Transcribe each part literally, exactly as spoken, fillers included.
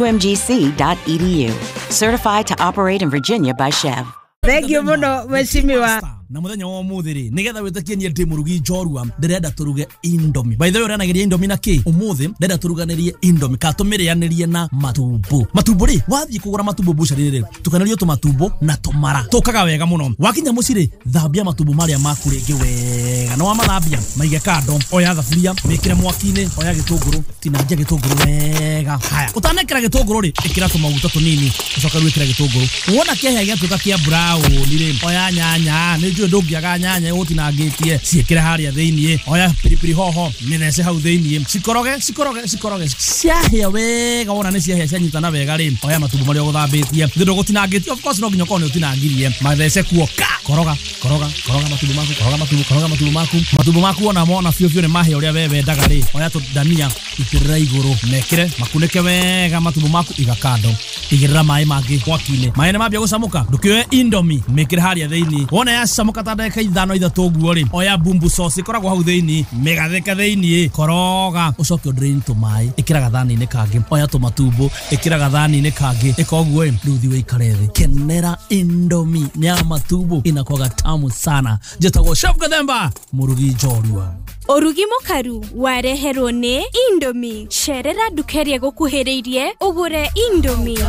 U M G C dot E D U. Certified to operate in Virginia by C H E V. Thank you muno mheshimiwa. Na muthenya wa umuthi ri nigetha witikie nie ndi murugi njorua ndirenda turuge Indomie. By the way, uranageria Indomie na ki umuthi ndirenda turuganirie Indomie ka tumirianirie na matumbo. Matumbo ri wathie kugura matumbo bucari ri tukanirio tumatumbo na tumara tukaga wega muno. Wakinya muci ri thambia matumbo maria maku ringi wega na wamathambia maige kando. Oya thaburia mikire mwaki-ini, oya gitunguru tinangia gitunguru wega. Haya utanekera gitunguru ri ikira tumaguta tunini ucoke wikire gitunguru. Wona kihia giatuika kia brown ri oya nyanya ni njui ndungiaga nyanya utinangitie ciikire haria thiini. Oya piripiri hoho mithece hau thiini, cikoroge cikoroge cikoroge ciahia wega. Wona ni ciahia cianyitana wega ri oya matumbo maria uguthambitie thi ndugutinangitie, of course no nginya ukorwo ni utinangirie, mathece kuo ka koroga koroga koroga matumbo maku koroga matumbo koroga matumbo maku matumbo maku wona mona biũ biũ ni mahia uria we wendaga ri oya tudania itirira iguru mekire makunike wega matumbo maku iga kando. Igirira maĩ mangĩ mwaki-inĩ, maĩ nĩ mambia gũcamũka ndũkĩoe Indomie mĩkĩre haria thĩinĩ. Wona yacamũka ta ndagĩka ithano ithatũ ũguo rĩ oya bumbu sauce ĩkoragwo hau thĩinĩ mĩgathĩke thĩinĩ koroga ũcoke ũdrain tũmaĩ ĩkĩra gathani-inĩ kangĩ. Oya tũmatumbo ĩkĩra gathani-inĩ kangĩ ĩka ũguo ĩ rĩu thiĩ wĩikare thĩ kenera Indomie ya matumbo inakwaga tamu sana. Njĩtagwo Chef Gathemba mũrugi njorua. Ũrugi mũkaru wareherwo nĩ Indomie. Cerera nduka ĩrĩa ĩgũkuhĩrĩirie ũgũre Indomie.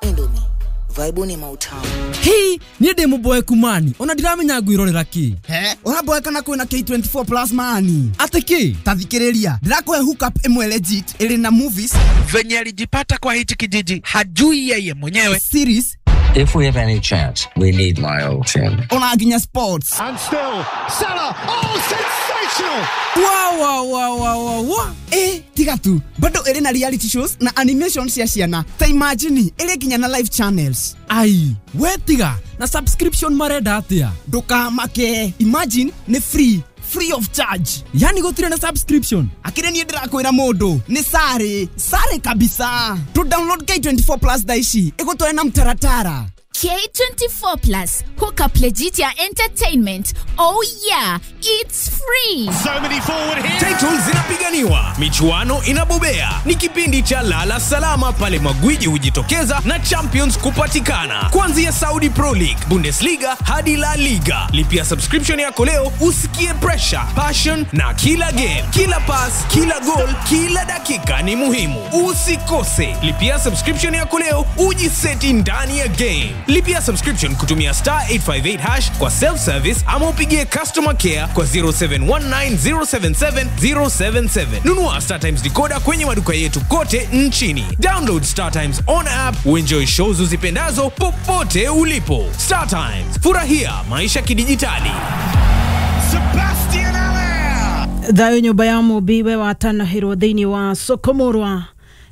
Indomie vibe ni mautamu. Hii niĩ ndĩ mũboeku mani ona ndiramenya ngwirorera kĩ. He ũraboeka na kwĩna K twenty-four plus mani atĩ kĩ? Ta thikĩrĩria ndĩrakũhe hookup ĩmwe legit ĩrĩ na movies. Venye alijipata kwa hichi kijiji hajui yeye mwenyewe. Series. If we have any chance, we need my old team. Ona nginya sports. And still, Salah, oh, sensational! Wow, wow, wow, wow, wow, wow. Eh, tiga tu. Bado ĩrĩ na reality shows na animation cia ciana. Ta imagine, ĩrĩ nginya na live channels. Ai, we tiga, na subscription marenda atia? Ndũkamake. Imagine, nĩ free. Free of charge. Yani gũtirĩ na subscription. Akire niĩ ndĩrakwĩra mũndũ nĩ sare sare kabisa. To download K twenty-four plus thaa ici ĩgũtware na mtaratara. K twenty-four plus hook up legit ya entertainment. Oh yeah, it's free. So many forward here. Titles zinapiganiwa, michuano inabobea. Ni kipindi cha Lala Salama pale magwiji hujitokeza na champions kupatikana. Kuanzia Saudi Pro League, Bundesliga hadi La Liga. Lipia subscription yako leo usikie pressure, passion na kila game, kila pass, kila goal, kila dakika ni muhimu. Usikose. Lipia subscription yako leo ujiseti ndani ya game. Lipia subscription kutumia star eight five eight hash kwa self-service ama upigie customer care kwa zero seven one nine zero seven seven zero seven seven. Nunua Star Times decoder kwenye maduka yetu kote nchini. Download Star Times on app uenjoy shows uzipendazo popote ulipo. Star Times, furahia maisha kidijitali. Sebastian Allaire. Thayo nyumba ya mũmbi we watanahĩrwo thĩinĩ wa Sokomorwa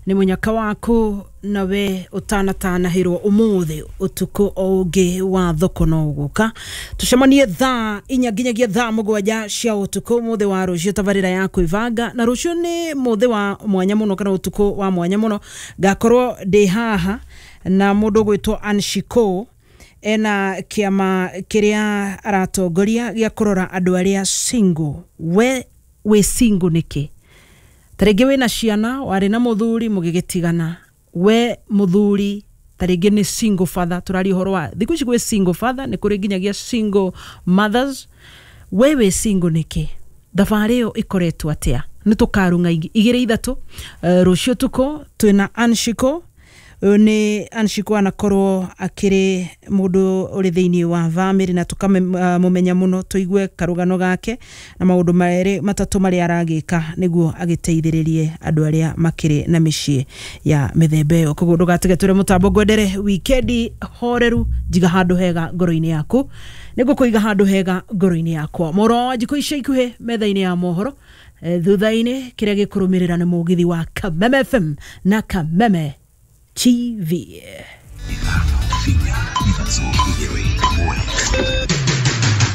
nĩ mũnyaka waku nawe utanatanahĩrwo ũmũthĩ ũtukũ o ũngĩ wa thoko no ũgũka. Tũcemanie thaa inya nginyagia thaa mũgwanja cia ũtukũ ũmũthĩ wa rũciũ tabarĩra ya kwĩbanga. Na rũciũ nĩ mũthĩ wa mwanya mũno kana ũtukũ wa mwanya mũno. Ngakorwo ndĩ haha na mũndũ ũgwĩtwo Anshiko ena kĩama kĩrĩa aratongoria gĩa kũrora andũ arĩa single. We wĩ single nĩkĩ? Tarĩngĩ wĩna ciana warĩ na mũthuri mũgĩgĩtigana. We mũthuri tarĩngĩ nĩ single father, tũraria ũhoro wa thikũ ici gwĩ single father nĩ kũrĩ nginyagia single mothers. We wĩ single nĩkĩ? Thabarĩ ĩyo ĩkoretwo atĩa? Nĩ tũkarung'a igĩrĩ ithatũ. Uh, rũciũ tukũ twĩna Anshiko. Nĩ Anshiko anakorwo akĩrĩ mũndũ ũrĩ thĩinĩ wa family na tũkamũmenya mũno tũigue karũgano gake na maũndũ merĩ matatũ marĩa aragĩka nĩguo agĩteithĩrĩrie andũ arĩa makĩrĩ na mĩciĩ ya mĩthemba ĩyo. Koguo ndũgatige tũre mũtambo ngwendere wikendi horeru njiga handũ hega ngoro-inĩ yaku nĩguo kũiga handũ hega ngoro-inĩ yakwa. Mũro wa njikũ ica ikuhĩ metha-inĩ ya mohoro thutha-inĩ kĩrĩa gĩkũrũmĩrĩra nĩ mũgithi wa Kameme F M na Kameme T V.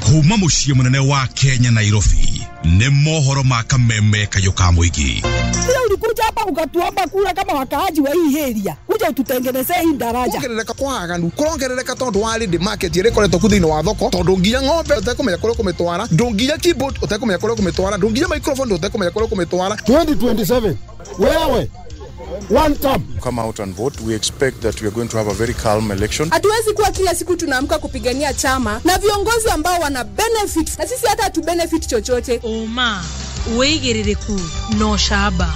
Kuma muciĩ mũnene wa Kenya Nairobi nĩ mohoro ma Kameme kayũ ka mũingĩ. Ulikuja hapa ukatuomba kura kama wakaaji wa hii area, kuja ututengenezee hii daraja. Kuongerereka kwa aganu kurongerereka tondu wa lady market ĩrĩa ĩkoretwo ku thĩinĩ wa thoko, tondu nginya ng'ombe ũtekũmenya kũrĩa ũkũmĩtwara, ndũnginya keyboard ũtekũmenya kũrĩa ũkũmĩtwara, ndũnginya microphone ũtekũmenya kũrĩa ũkũmĩtwara. twenty twenty-seven wewe One term. Come out and vote. We expect that we are going to have a very calm election. Hatuwezi kuwa kila siku tunaamka kupigania chama na viongozi ambao wana benefit na sisi hata hatu benefit chochote. Uma wigiririku no shaba.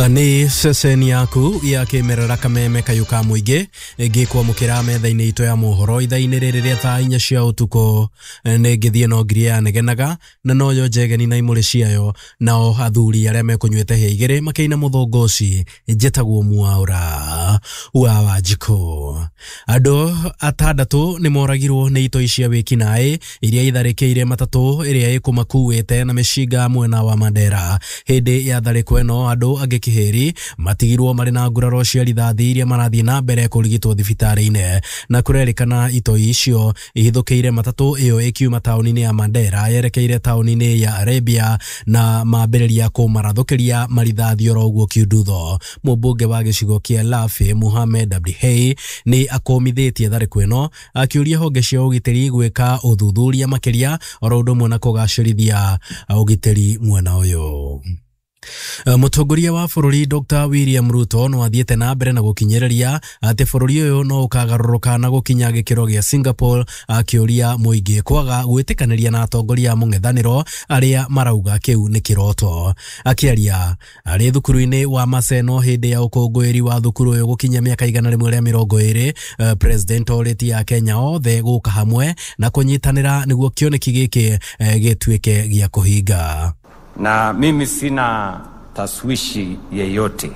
Nĩ ceceni yaku ya kĩmerera kameme kayũ ka mũingĩ ngĩkwamũkĩra metha-inĩ itũ ya mohoro ithaa-inĩ rĩrĩ rĩa thaa inya cia ũtukũ. Nĩ ngĩthiĩ no ngiria yanegenaga na noyo njegeni na imũrĩ ciayo, nao athuri arĩa mekũnyuĩte hĩa igĩrĩ makĩina mũthũngũ ũci. Njĩtagwo Mwaũra wa Wanjikũ. Andũ atandatũ nĩ moragirwo nĩ itoi cia wĩkinaĩ iria itharĩkĩire matatũ ĩrĩa ĩkũmakuĩte na mĩcinga mwena wa Mandera. Hĩndĩ ya tharĩko ĩno andũ angĩ kĩhĩri matigirwo marĩ na nguraro cia rithathi iria marathiĩ na mbere kũrigitwo thibitarĩ-inĩ, na kũrerĩkana itoi icio ihithũkĩire matatũ ĩyo ĩkiuma taũni-inĩ ya Mandera yerekeire taũni-inĩ ya Arabia na mambĩrĩria kũmarathũkĩria marithathi oro ũguo kiundutho. Mũmbunge wa gĩcigo kĩa Lafi Mohamed Abdihei nĩ akũmithĩtie tharĩko ĩno akĩũria honge cia ũgitĩri gwĩka ũthuthuria makĩria oro ũndũ ũmwe na kũgacĩrithia ũgitĩri mwena ũyũ. Mũtongoria wa bũrũri Doctor William Ruto no athiĩte na mbere na gũkinyĩrĩria atĩ bũrũri ũyũ no ũkagarũrũka na gũkinya gĩkĩro gĩa Singapore, akĩũria mũingĩ kwaga gwĩtĩkanĩria na atongoria a mũng'ethanĩro arĩa marauga kĩu nĩ kĩroto. Akĩaria arĩ thukuru-inĩ wa Maseno hĩndĩ ya ũkũngũĩri wa thukuru ũyũ gũkinya mĩaka igana rĩmwe rĩa mĩrongo ĩrĩ, President orĩtie Akenya othe gũka hamwe na kũnyitanĩra nĩguo kĩoneki gĩkĩ gĩtuĩke gĩa kũhinga. Na mimi sina taswishi yeyote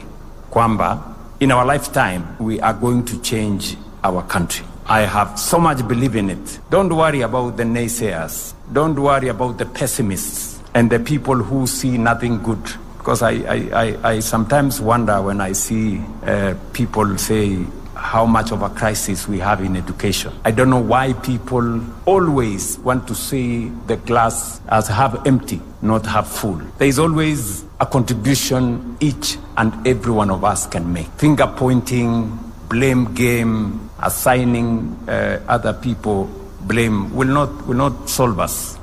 kwamba in our lifetime we are going to change our country. I have so much belief in it. Don't worry about the naysayers. Don't worry about the pessimists and the people who see nothing good. Because I, I, I, I sometimes wonder when I see uh, people say how much of a crisis we have in education. I don't know why people always want to see the glass as half empty, not half full. There is always a contribution each and every one of us can make. Finger pointing, blame game, assigning uh, other people blame will not, will not solve us.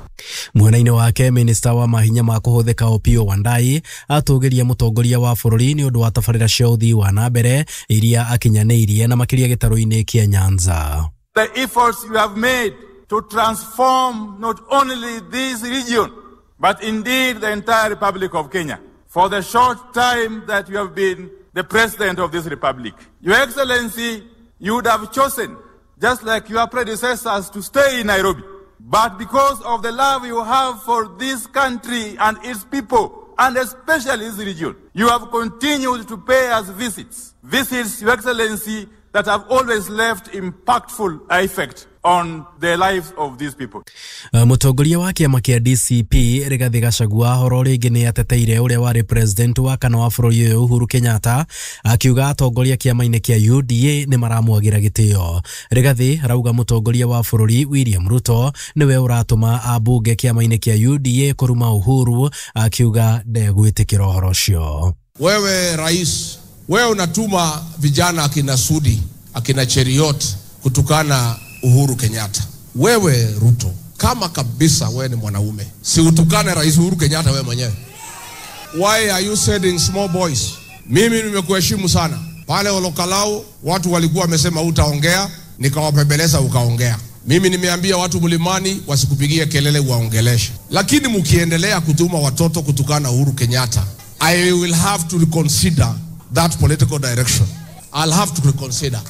Mwena-inĩ wake minista wa mahinya ma kũhũthĩka Opiyo Wandayi atũgĩria mũtongoria wa bũrũri nĩ ũndũ wa tabarĩra cia ũthii wa na mbere iria akinyanĩirie na makĩria gĩtarũ-inĩ kĩa Nyanza. The efforts you have made to transform not only this region but indeed the entire Republic of Kenya for the short time that you have been the president of this republic. Your Excellency, you would have chosen, just like your predecessors, to stay in Nairobi. But because of the love you have for this country and its people, and especially this region, you have continued to pay us visits. Visits, Your Excellency, that have always left impactful effect on the lives of these people. Mũtongoria wa kĩama kĩa D C P Rigathi Gachagua horo rĩngĩ nĩ ateteire ũrĩa warĩ president wa kana wa bũrũri ũyũ Uhuru Kenyatta, akiuga atongoria kĩama-inĩ kĩa U D A nĩ maramwagĩra gĩtĩo. Rigathi arauga mũtongoria wa bũrũri William Ruto nĩwe ũratũma ambunge kĩama-inĩ kĩa U D A kũruma Uhuru, akiuga ndegwĩtĩkĩra ũhoro ũcio. Wewe rais, wewe unatuma vijana akina Sudi, akina Cheriot kutukana Uhuru Kenyatta. Wewe Ruto, kama kabisa wewe ni mwanaume, si utukane Rais Uhuru Kenyatta wewe mwenyewe. Why are you sending small boys? Mimi nimekuheshimu sana. Pale Olokalao watu walikuwa wamesema utaongea, nikawapembeleza ukaongea. Mimi nimeambia watu mlimani wasikupigie kelele waongeleshe. Lakini mkiendelea kutuma watoto kutukana Uhuru Kenyatta, I will have to reconsider that political direction. I'll have to reconsider.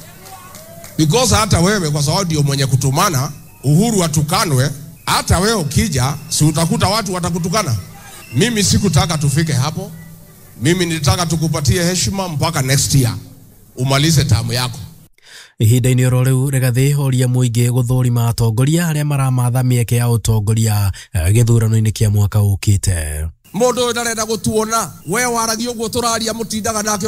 Because hata wewe kwa sababu ndio mwenye kutumana Uhuru atukanwe, hata wewe ukija si utakuta watu watakutukana. Mimi sikutaka tufike hapo. Mimi nilitaka tukupatie heshima mpaka next year umalize tamu yako. Ihinda-inĩ oro rĩu Rigathi oria mũingĩ gũthũrima atongoria arĩa maramatha mĩeke ya ũtongoria gĩthurano-inĩ kĩa mwaka ũkĩte. Mundu uyu ndarenda gutuona we waragia uguo turaria mutindaga nake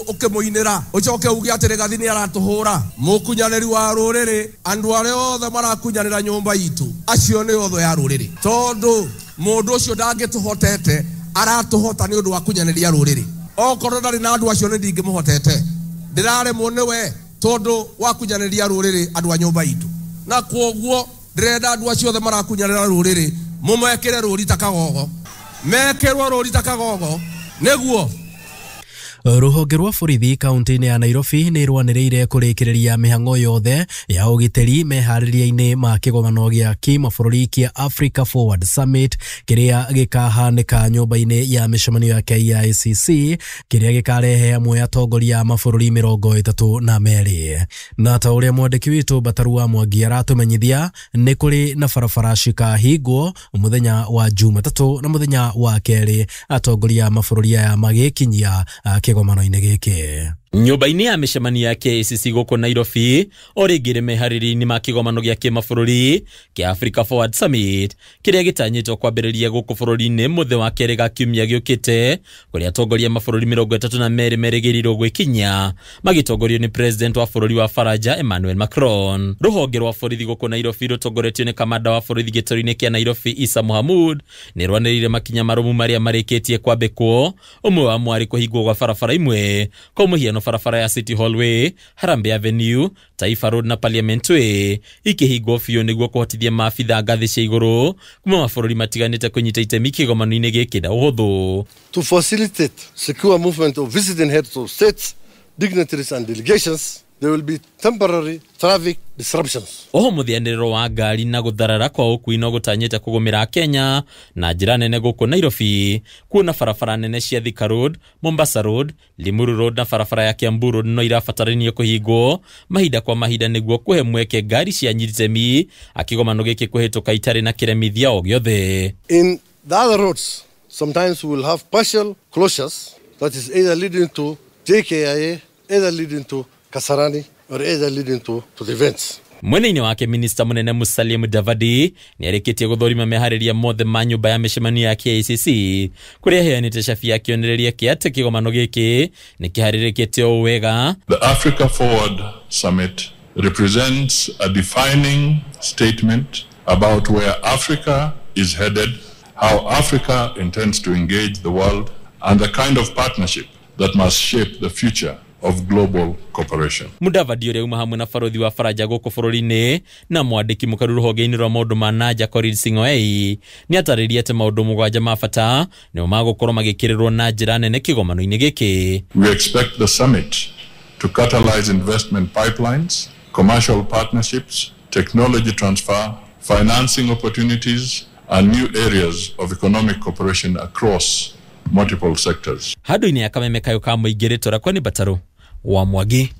ukimuinira ucoke uge ati Rigathi ni aratuhura. Mukunyaniri wa ruriri, andu aria othe marakunyanira nyumba itu acio ni othe ya ruriri, tondu mundu ucio ndangituhotete aratuhota ni undu wa kunyaniria ruriri. Okorwo ndari na andu acio ni ndingimuhotete, ndiraremwo niwe tondu wa kunyaniria ruriri andu a nyumba itu, na kwoguo ndirenda andu acio othe marakunyanira ruriri Mumekire rũri ta kagogo. Mekirwo rũri ta kagogo. Nĩguo. Rũhonge rwa borithi kaunti-inĩ ya Nairobi nĩ rwanĩrĩire kũrĩkĩrĩria mĩhang'o yothe ya ũgitĩri meharĩria-inĩ ma kĩgomano gĩa kĩmabũrũri kĩa Africa Forward Summit kĩrĩa gĩkahanĩka nyũmba-inĩ ya mĩcemanio ya K I C C kĩrĩa gĩkarehe hamwe atongoria a mabũrũri mĩrongo ĩtatũ na merĩ. Na ta ũrĩa mwandĩki witũ Bataru wa Mwangi aratũmenyithia, nĩ kũrĩ na barabara cikahingwo mũthenya wa Jumatatũ na mũthenya wa kerĩ atongoria a mabũrũri aya magĩkinyia kĩgomano-inĩ gĩkĩ. Nyũmba-inĩ ya mĩcemanio ya K I C C gũkũ Nairobi o rĩngĩ rĩ meharĩria-inĩ ma kĩgomano gĩa kĩmabũrũri kĩa Africa Forward Summit kĩrĩa gĩtanyĩtwo kwambĩrĩria gũkũ bũrũri-inĩ mũthĩ wa kerĩ ga kiumia gĩũkĩte, kũrĩa atongoria mabũrũri mĩrongo ĩtatũ na merĩ merĩgĩrĩirwo gwĩkinyia magĩtongorio nĩ president wa bũrũri wa Faranja Emmanuel Macron. Rũhonge rwa borithi gũkũ Nairobi rũtongoretio nĩ kamanda wa borithi gĩtarũ-inĩ kĩa Nairobi Issa Mohamud nĩ rwanĩrĩire makinya marũmu marĩa marĩkĩtie kwambĩkwo, ũmwe wamo arĩ kũhingwo gwa barabara imwe kwa mũhiano barabara ya City Hall Way, Harambee Avenue, Taifa Road na Parliament Way ikĩhingwo biũ nĩguo kũhotithia maabitha ngathĩ cia igũrũ kuma mabũrũri matiganĩte kũnyita itemi kĩgomano-inĩ gĩkĩ na ũhũthũ. To facilitate secure movement of visiting heads of states, dignitaries and delegations, there will be temporary traffic disruptions. Oho mũthianĩrĩro wa ngari na gũtharara kwa ũkui no gũtanyĩte kũgũmĩra Kenya na njĩra nene gũkũ Nairobi, kuona barabara nene cia Thika Road, Mombasa Road, Limuru Road na barabara ya Kiambu Road no irabatarania kũhingwo mahinda kwa mahinda nĩguo kũhe mweke ngari cia nyitemi akĩgomano gĩkĩ kũhĩtũka itarĩ na kĩremithia o gĩothe. In the other roads, sometimes we will have partial closures that is either leading to J K I A, either leading to Kasarani, or either leading to, to the events. Mwena-inĩ wake minista mũnene Musalia Mudavadi nĩarĩkĩtie gũthũrima meharĩria mothe ma nyũmba ya mĩcemanio ya K I C C kũrĩa aheanĩte cabi ya kĩonereria kĩa atĩ kĩgomano gĩkĩ nĩ kĩharĩrĩkĩte o wega. The Africa Forward Summit represents a defining statement about where Africa is headed, how Africa intends to engage the world, and the kind of partnership that must shape the future of global cooperation. Mudavadi ũrĩa uma hamwe na barothi wa Faranja gũkũ bũrũri-inĩ na mwandĩki mũkaru rũhonge-inĩ rwa maũndũ ma nanja Korir Sing'oei nĩ atarĩirie atĩ maũndũ mũgwanja ma bata nĩmo magũkorwo magĩkĩrĩrwo na njĩra nene kĩgomano-inĩ gĩkĩ. We expect the summit to catalyze investment pipelines, commercial partnerships, technology transfer, financing opportunities, and new areas of economic cooperation across multiple sectors. Handũ-inĩ ya kameme kayo ka mũingĩ rĩtwa rĩakwa nĩ Bataru wa Mwangi.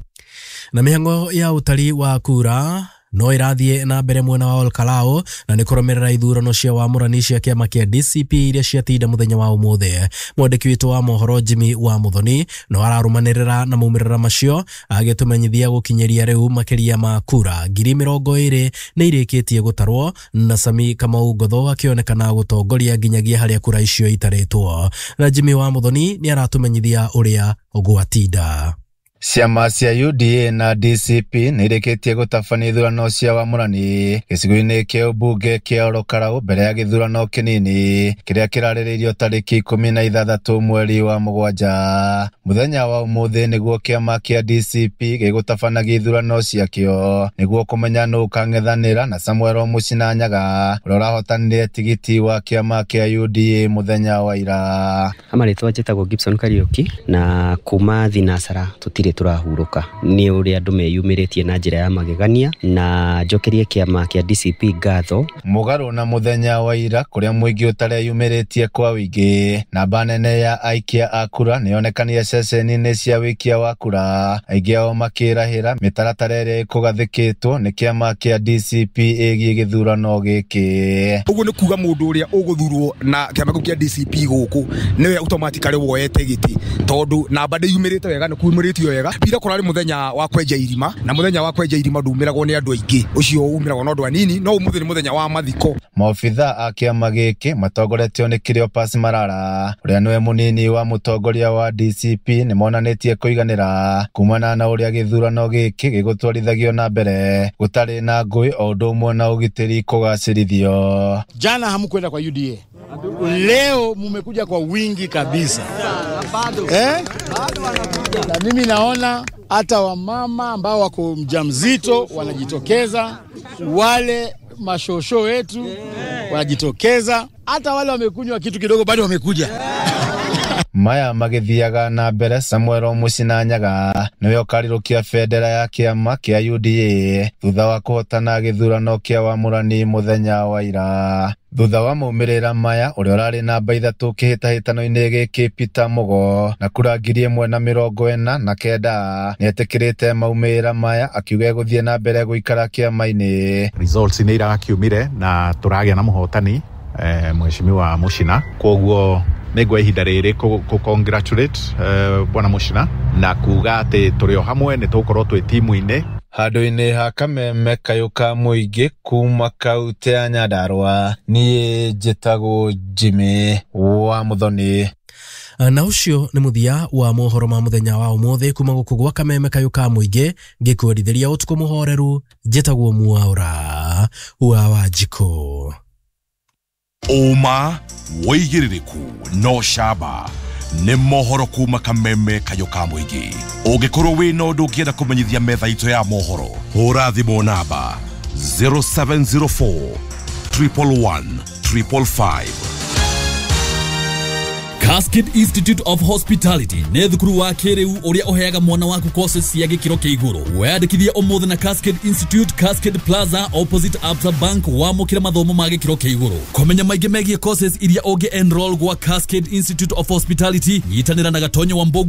Na mĩhang'o ya ũtari wa kura no ĩrathiĩ na mbere mwena wa Olkalou na nĩ kũrũmĩrĩra ithurano cia wamũrani cia kĩama kĩa D C P iria ciatinda mũthenya wa ũmũthĩ. Mwandĩki witũ wa mohoro Jimmy wa Muthoni no ararũmanĩrĩra na maumĩrĩra macio agĩtũmenyithia gũkinyĩria rĩu makĩria ma kura ngiri mĩrongo ĩrĩ nĩ irĩkĩtie gũtarwo na Sami Kamau Ngotho akĩonekana gũtongoria nginyagia harĩa kura icio itarĩtwo. Na Jimmy wa Muthoni nĩ aratũmenyithia ũrĩa gwatinda. Ciama cia U D A na D C P nĩ irĩkĩtie gũtabania ithurano cia wamũrani gĩcigo-inĩ kĩa ũmbunge kĩa Ol Kalou mbere ya gĩthurano kĩnini kĩrĩa kĩrarĩrĩirio tarĩki ikũmi na ithathatũ mweri wa mũgwanja. Mũthenya wa ũmũthĩ nĩguo kĩama kĩa D C P gĩgũtabanagia ithurano ciakĩo nĩguo kũmenya nũ ũkang'ethanĩra na Samuel Mũchina Nyaga ũrĩa ũrahotanire tigiti wa kĩama kĩa U D A mũthenya wa ira. Amarĩtwa njĩtagwo Gibson Kariuki na kuma Thinasara tũtirĩ tũrahurũka nĩ ũrĩa andũ meyumĩrĩtie na njĩra ya magegania na njokerie kĩama kĩa D C P ngatho. Mũgarũ na mũthenya wa ira kũrĩa mũingĩ ũtareyumĩrĩtie kwa wĩingĩ, namba nene ya aikia a kura nĩyonekanire ceceni-inĩ cia wĩikia wa kura, aingĩ ao makĩrahĩra mĩtaratara ĩrĩa ĩkũgathĩkĩtwo nĩ kĩama kĩa D C P ĩgiĩ gĩthurano gĩkĩ. Ũguo nĩ kuga mũndũ ũrĩa ũgũthurwo na kĩama kĩu kĩa D C P gũkũ nĩwe automatically woete gĩtĩ tondũ namba ndĩyumĩrĩte wega nĩ kumĩrĩtio wega. Ira kũrarĩ mũthenya wa kwenja irima na mũthenya wa kwenja irima ndumĩragwo nĩ andũ aingĩ, ũcio umĩragwo no andũ anini, no ũmũthĩ nĩ mũthenya wa mathiko. Maobitha a kĩama gĩkĩ matongoretio nĩ Cleopas Marara ũrĩa nĩwe mũnini wa mũtongoria wa D C P nĩmonanĩtie kũiganĩra kumana na ũrĩa gĩthurano gĩkĩ gĩgũtwarithagio na mbere gũtarĩ na ngũĩ o ũndũ ũmwe na ũgitĩri kũgacĩrithio. Jana hamkwenda kwa U D A, leo mumekuja kwa wingi kabisa eh? Na mimi naona hata wamama ambao wako mjamzito wanajitokeza, wale mashosho wetu Wanajitokeza, hata wale wamekunywa kitu kidogo bado wamekuja. Maya magĩthiaga na mbere Samuel Mũcina Nyaga nĩwe ũkarirũkia bendera ya kĩama kĩa U D A thutha wa kũhotana gĩthurano kĩa wamũrani mũthenya wa ira. Thutha wa maumĩrĩra maya ũrĩa ũrarĩ namba ithatũ kĩhĩtahĩtano-inĩ gĩkĩ Peter Mugo na kura ngiri ĩmwe na mĩrongo ĩna na kenda nĩetĩkĩrĩte maumĩrĩra maya akiuga egũthiĩ na mbere gũikara kĩama-inĩ. Results nĩ irakiumire na tũragĩa na mũhotani eh, Mheshimiwa Mũcina, kwoguo nĩngwa ihinda rĩrĩ kũ congratulate uh, bwana Mũcina na kuga atĩ tũrĩ o hamwe nĩ tũgũkorwo twĩ timu-inĩ. Handũ-inĩ ha kameme kayũ ka mũingĩ kuma kaunti ya Nyandarua, niĩ njĩtagwo Jimmy wa Muthoni. Na ũcio nĩ mũthia wa mohoro ma mũthenya wa ũmũthĩ kuma gũkũ gwa kameme kayũ ka mũingĩ ngĩkwendithĩria ũtukũ mũhoreru. Njĩtagwo Mwaura wa Wanjikũ. Ũma wĩigĩrĩrĩku no camba nĩ mohoro kuma kameme kayũ ka mũingĩ. Ũngĩkorwo wĩna ũndũ ũngĩenda kũmenyithia metha itũ ya mohoro, hũra thimũ namba zero seven zero four triple one triple five. Cascade Institute of Hospitality nĩ thukuru wa kĩrĩu ũrĩa ũheaga mwana waku courses cia gĩkĩro kĩa igũrũ. Weyandĩkithie ũmũthĩ na Cascade Institute, Cascade Plaza opposite Absa Bank, wamũkĩre mathomo ma gĩkĩro kĩa igũrũ. Kũmenya maingĩ megiĩ courses iria ũngĩ enroll gwa Cascade Institute of Hospitality, nyitanĩra na Gatonyo wa Mbogo.